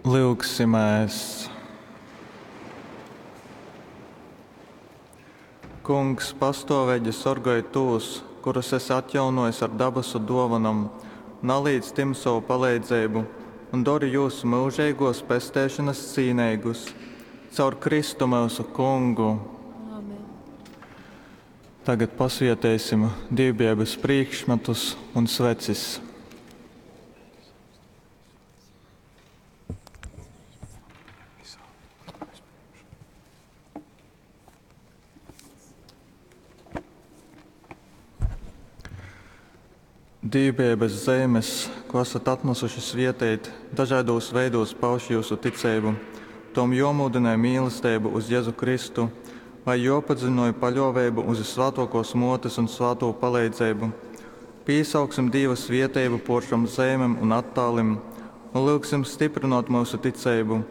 Lyugsimēs! Kungs, pastōveigi sorgoj tūs, kurus esi atjaunōjis ar dabasu dōvonom, nalīdz tim sovu paleidzeibu un dori jūs myužeigōs pesteišonas cīneigus. Caur Kristu myusu Kungu. Āmen. Tagad pasvieteisim dīvbijeibys prīškmatus un svecis. Dīvbijeibys zeimes, ko esat atnasuši svieteit, dažaidūs veidūs pauž jiusu ticeibu. Tom juomūdynoj mīlesteiba uz Jezu Kristu vai juopadziļinoj paļuoveibu uz Vyssvātuokuos Muotes un svātū paleidzeibu. Pīsauksim Dīva svieteibu puor šom zeimem un attālim un lyugsim styprynuot myusu ticeibu,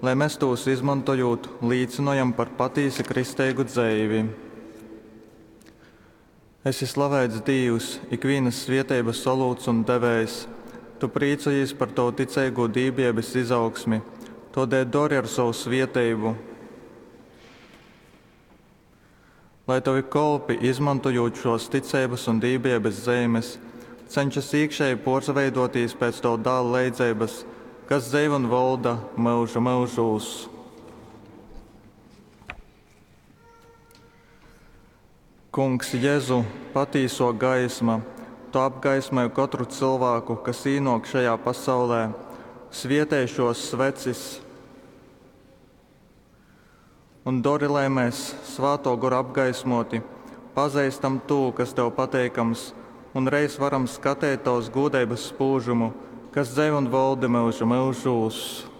lai mes tūs izmontojūt līcynojam par patīsi kristeigu dzeivi. Esi slaveits Dīvs, ikvīnas svieteibas olūts un devējs! Tu prīcojīs par tovu ticeigū dīvbijeibas izaugsmi, tōdēļ dori ar sovu svieteibu, lai tovi kolpi, izmontojūt šōs ticeibas un dīvbijeibas zeimes, cenšas īkšēji pōrsaveidōtīs pēc tova Dāla leidzeibas, kas dzeiv un volda myužu myužūs. Kungs Jezu, patīso gaisma, tu apgaismoj kotru cylvāku, kas īnōk šajā pasaulē. Svietej šōs svecis un dori, lai mēs, Svātō Gora apgaismōti, pazeistam tū, kas tev pateikams, un reiz varam skateit tovas gūdeibas spūžumu, kas dzeiv un voldi myužu myužūs.